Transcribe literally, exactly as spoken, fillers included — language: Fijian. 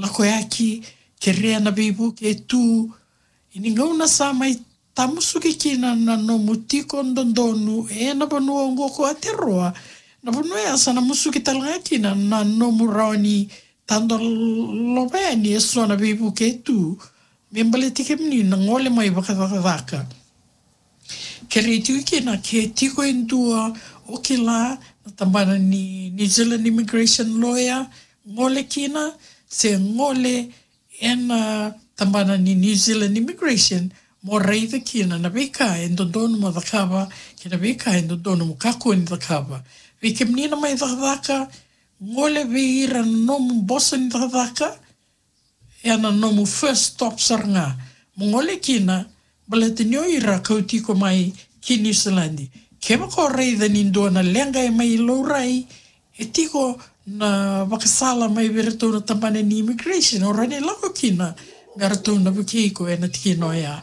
lakoyaki, kerea na veivuke e tu. Ia ni gauna sa mai tamusuki kina na nomu tiko dodonu ena vanua oqo ko Aotearoa, na vanua ya sa na musuki tale ga kina na nomu rawa ni tadolava yani eso na veivuke e tu me baleti kemuni na gole mai vakacakacaka. Kerei tiko kina ke tiko e dua o kila na tabana ni New Zealand Immigration Lawyer, gole kina, se gole ena tabana ni New Zealand Immigration mo raica kina na veika e dodonu mo cakava kei na veika e dodonu mo kakua ni cakava. Vei kemuni na mai cakacaka, gole vei ira na nomu boso ni cakacaka, ena nomu first stop sara ga mo gole kina, baleta ni o ira kauti iko mai ki Niusiladi. Kevaka o raica ni dua na leqa e mai laurai, e tiko na vakasala mai vei iratou na tabana ni immigration, o rawa ni lako kina me ratou na vukei iko ena tikina oya.